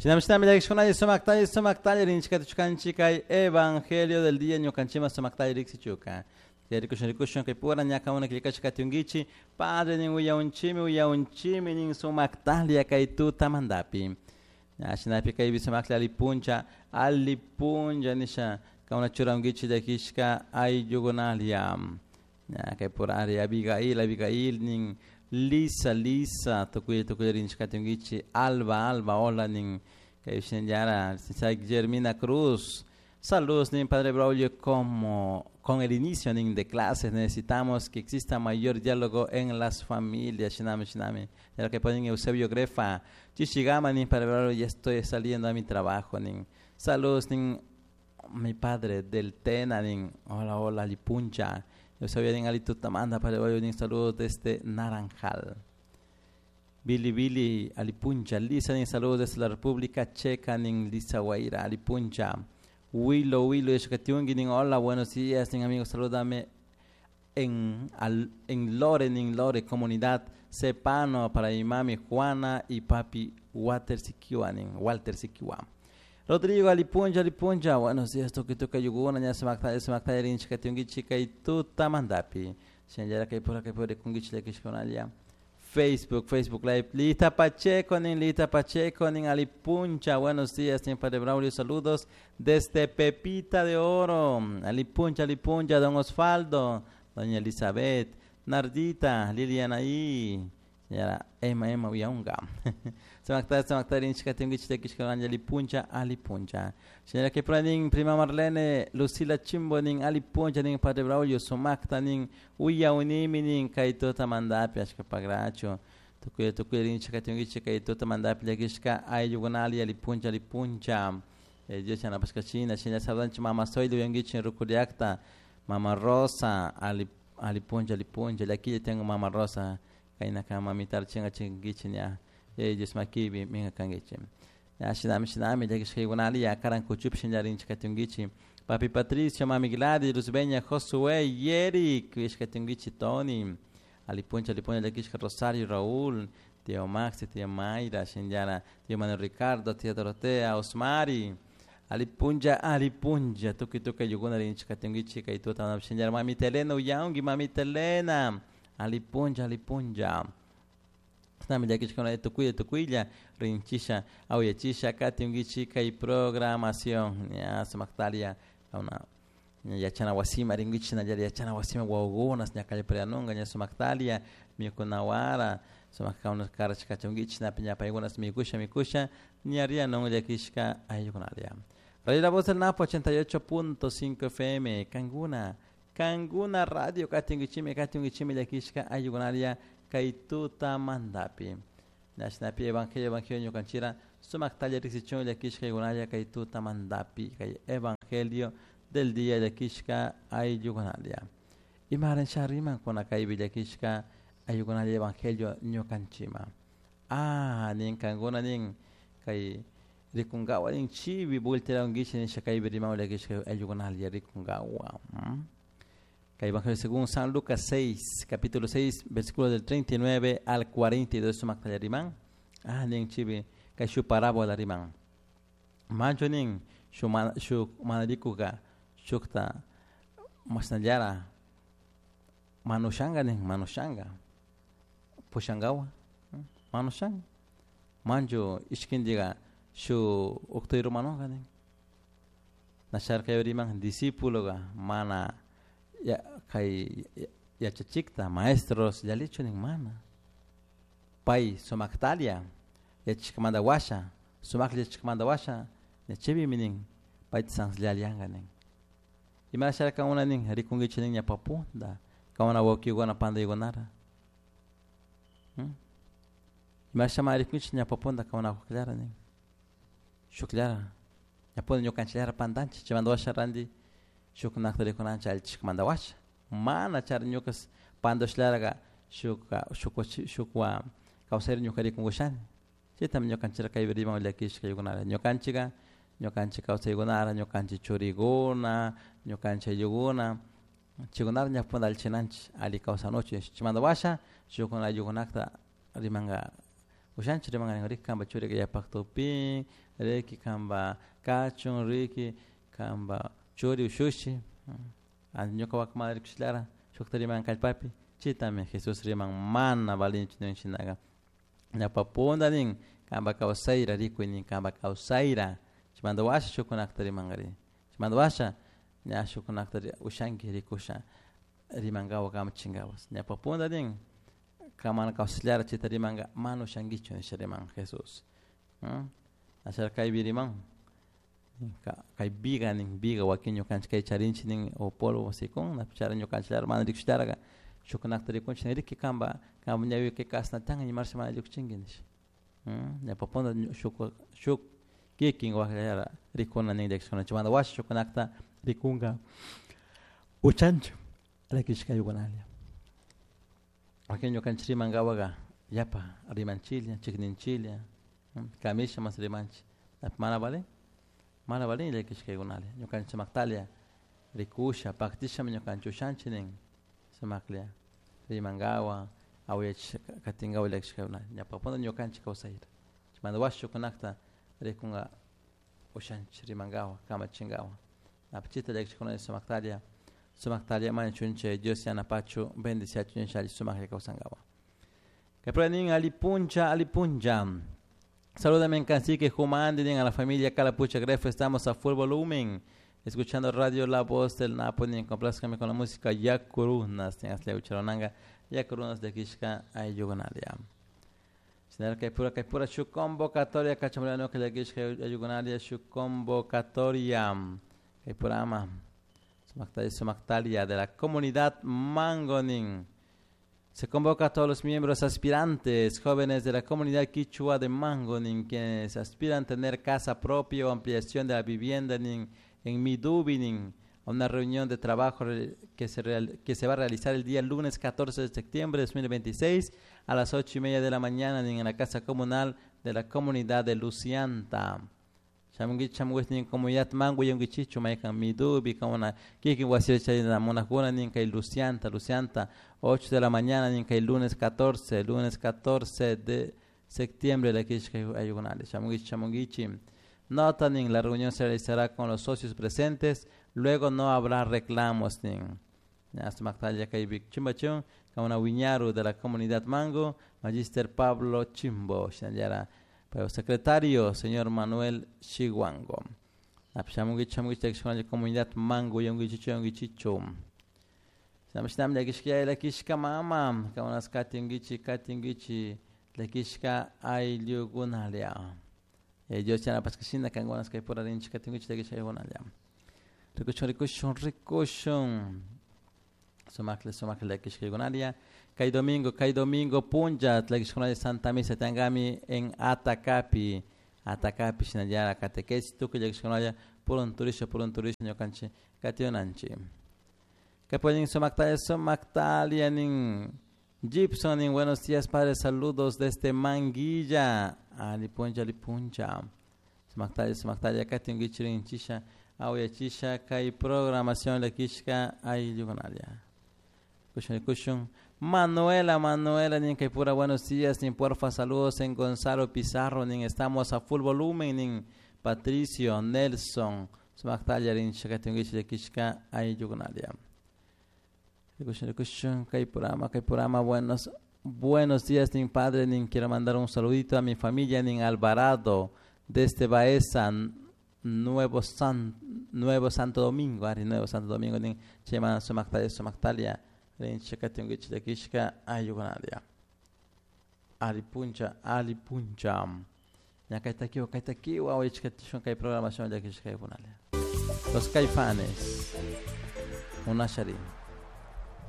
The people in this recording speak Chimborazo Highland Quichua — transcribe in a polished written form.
Shinami shinami llakishkunalla sumaktalla sumaktalla rinchikatuchkanchik kay Evangelio del día ñukanchikman sumaktalla riksichuka. Rikushun rikushun kay pura ñakamuna killkashka katiunkichik Padre nin uyaunchimi uyaunchimi nin sumaktalla kay tutamantapi. Shinapi kaypi sumaklla alli puncha alli puncha nisha kauna churankichik llakishka ayllukunalla. Kay pura ari Abigail Abigail nin Lisa Lisa tukuy tukuy rinchik katiunkichik Alba Alba hola nin kay shinallara Guillermina Cruz. Saludos, nin Padre Braulio, como con el inicio nin, de clases necesitamos que exista mayor diálogo en las familias. Shinami, shinami. Ya que ponen Eusebio Grefa. Chichigama, nin Padre Braulio, ya estoy saliendo a mi trabajo. Nin. Saludos, nin mi padre del Tena, nin. Hola, hola, Lipuncha. Eusebio, nin Alitutamanda, Padre Braulio, nin saludos desde Naranjal. Billy Billy, Alipuncha. Lisa, nin saludos desde la República Checa, nin Lisa Guaira, Alipuncha. Willow, Willow, nin hola, buenos días, nin amigos, salúdame en, al, en Lore, nin Lore, comunidad Cepano, para mi mami Juana y papi Walter Sikiwa, nin Walter Sikiwa. Rodrigo, Alipunja, Alipunja, buenos días, toki toka yuguna, ña sumakta, sumakta, rin chikatiungi chika y tuta mandapi. Shenjara kay pura kay pura kungi chile kishkonalia. Facebook, Facebook Live. Lita Pacheco, nin Lita Pacheco, nin Alipuncha. Buenos días, nin Padre Braulio. Saludos desde Pepita de Oro. Alipuncha, Alipuncha, don Osvaldo, doña Elizabeth, Nardita, Liliana ahí. Señora Emma, Emma, Uyaunga. Samakta, samakta, rinchika, tingichita, kishkalanja, Alipuncha, Alipuncha. Señora Kepranin, prima Marlene, Lucila Chimbo, nin Alipuncha, nin Padre Braulio, Sumakta, nin Uyaunimi, nin Kaitota Mandapi, Ashkapagracho. Tukuya, tukuya, rinchika, tingichita, Kaitota Mandapi, Lakishka, Ayugunali, Alipuncha, Alipuncha. Dios yanapashkachina, señora Sardanchi, Mama Soylu, Yanguichin, Rukuriakta, Mama Rosa, Alipuncha, Alipuncha, aquí tengo Mama Rosa. Kainaka mamitar chinga chingichi ya Dios makibi minga kangichi. Ya shinami shinami llakishkaykunali ya karan kuchupi shinllarinchik katungichi. Papi Patricio, mami Gladys, Luzbeña, Josué, Yerik, kashkatungichi Tony, Alipuncha, Alipuncha, llakishka Rosario, Raúl, tío Maxi, tía Mayra, shinllara, tío Manuel Ricardo, tía Dorotea, Osmari, Alipunja, Alipunja, tukuy tukuy yukuna rinchik katungichi kay tuta shinllara, mamita Elena, uyangi, mamita Elena, Alipunja, Alipunja. Nami llakishkuna tukuylla tukuylla rinchisha awyachisha katinkichik kay programación ña sumaktalia una yachana wasima rinkichik nallara yachana wasima wawakunas ña kallparianunka ña sumaktalia mikunawara sumak karashkachunkichik napi ña paykunas mikusha mikusha ña rianun llakishka ayllukunalia. Radio La Voz del Napo 88.5 FM Canguna Canguna Radio katinkichimi katinkichimi llakishka ayllukunalia kay tuta mandapi. Nashnapi evangelio evangelio ñukanchira sumaktalla riksichun llakishka ayllukunalla kay tuta mandapi kay evangelio del día llakishka ayllukunalia. Imaran sharimankuna kaypi llakishka ayllukunalla evangelio ñukanchima. Ah, nin kankuna nin kay rikunkawa nin chivi volterankichik nisha kaypi rimawan llakishka ayllukunalla rikunkawa. Kay Evangelio según San Lucas 6, capítulo 6, versículo del 39 al 42, sumakta riman. Ah, nin chivi, kay shu parábola riman. Mancho nin, shu manarikuka, shukta masnallara, manushanga nin, manushanga. Pushangawa, manushanga. Mancho ishkindiga, shu uktayru manonga nin. Nashar kay riman, discípulo ga, mana, ya, kay yachachikta, maestros, yalichu nin mana. Pay sumaktalia, yachachikmanta washa, sumaklla yachachikmanta washa, ñachivimi nin, payta sanslalianga nin. Imara shara kankuna nin, rikunkichik nin ña papunta, kankuna wawkikuna pantaykunara. Imara shama rikunkichik ña papunta kankuna wakllara nin. Shukllara, ñapuna ñukanchillara pantanchik, chaymanta washa ranti shuknakta rikunanchik allichikmanta washa. Mana chari ñukas pantashlaraka shuka shukwa shukwa kawsayri ñuka rikunkushani. Chaytami ñukanchik kaypi riman llakishka ayllukuna ñukanchika ñukanchik kawsaykunara ñukanchik churikuna ñukanchik ayllukuna chaykunata ñapunta allichinanchik alli kawsanuchun chaymanta washa shukuna ayllukunakta rimanka Ushanchi rimanka riki kanpa churika yapak tupin, riki kanpa kachun, riki kanpa churi ushushi. Ñuka waka mana rikushillara shukta riman kallpapi chitami Jesús riman mana valinchu nin shinaga. Ñawpa punda nin kanpa kawsayra rikuy nin kanpa kawsayra chaymanta washa shukkunakta rimankari. Chaymanta washa ña shukkunakta ushanki rikusha rimankawa kamachinkawa. Ñawpa punda nin kan mana kawsallara chayta rimanka mana ushankichu nisha riman Jesús. Ashara kaypi riman kay viga nin viga wakin ñukanchik kay charinchik nin o polvo wasikun chara ñukanchik mana rikushillaraka shukkunakta rikunchik nin riki kanpa kanpa ñawi kay kashnatan imashi mana llukshinki nisha. Ñawpa punda shuk shuk kikin wakllara rikuna nin llakishkuna chaymanta washa shukkunakta rikunka uchanchik llakishkaykunalla. Wakin ñukanchik rimankawaka yapa rimanchilla chikninchilla kamisha mas rimanchik mana valin mana valin llakishkaykunalla ñukanchik sumaktalla rikusha paktishami ñukanchik ushanchik nin sumaklla rimankawa awyachish katinkawa llakishkaykunalla ñawpa punda ñukanchik kawsayta chaymanta washa shukkunakta rikunka ushanchik rimankawa kamachinkawa chayta llakishkuna sumaktalla sumaktalla mañachunchik Dios yanapachu bendiciachu alli sumaklla kawsankawa. Kay nin alipuncha alipuncha. Salúdame en Cacique Jumandi, a la familia Calapucha Grefo, estamos a full volumen, escuchando Radio La Voz del Napo, nin, complázcame con la música Yacurunas, Charonanga, Yacurunas de Kishka, Ayugonalia. Señor, que pura su convocatoria, cachamulano que le Kishka Ayugonalia, su convocatoria, que pura ama, Sumactalia, de la comunidad Mangonin. Se convoca a todos los miembros aspirantes, jóvenes de la comunidad quichua de Mangonin, quienes aspiran a tener casa propia o ampliación de la vivienda en Midubinin, a una reunión de trabajo que se va a realizar el día lunes 14 de septiembre de 2026 a las 8:30 de la mañana en la casa comunal de la comunidad de Lucianta. Chamunguich comunidad mango yunguichichu maykan midubi kamuna kikin wasirachayna munakuna nin kay Lucianta Lucianta 8 de la mañana nin kay lunes 14 de septiembre la kishka ayugunale chamunguich chamunguichi. Nota nin la reunión se realizará con los socios presentes, luego no habrá reclamos nin. Sumaktalla kay chimbachun kamuna wiñaru de la comunidad mango Magister Pablo Chimbo shinallara. Pero secretario, señor Manuel Chiguango. Comunidad Mango, Yonguichicho, Yonguichicho. Lakishka mama, Kamunas Katingichi, Katingichi, Lakishka Aylugunalia. Dios chana pascasina, Kangunas Kaipurarinchi, Katingichi, Lakishka Ayugunalia. Rikushun, rikushun, rikushun. Sumakle, sumakle, Lakishka Ayugunalia. Kay domingo, punja, tlakishkuna Santa Misa, tangami en Atacapi, Atacapi, shinallara, catequesis, tukuy llakishkunalla, purun turisha, ñukanchik, kationanchik. Kay sumaktalia, sumaktalia, nin Gibson, nin buenos días, padre, saludos desde Manguilla, alipuncha, alipuncha. Sumaktalia, sumaktalia, kationgichirin, chisha, awyachisha, kay programación llakishka, ayllukunalia. Kushun, kushun. Manuela, Manuela, nin que pura buenos días, nin porfa saludos en Gonzalo Pizarro, nin estamos a full volumen, nin Patricio, Nelson, sumaktalla, nin shakatungichi, yakishka, ayugunalia. Rikushun, kay purama, buenos días, nin padre, nin quiero mandar un saludito a mi familia, nin Alvarado, desde Baeza, Nuevo Santo Domingo, ari, Nuevo Santo Domingo, nin chema sumaktalia, sumaktalia. Alipuncha, alipuncha. Ya kaitakiwa, kaitakiwa, oichkatishun kay programación ya kishkay punalia. Los Caifanes. Una shari.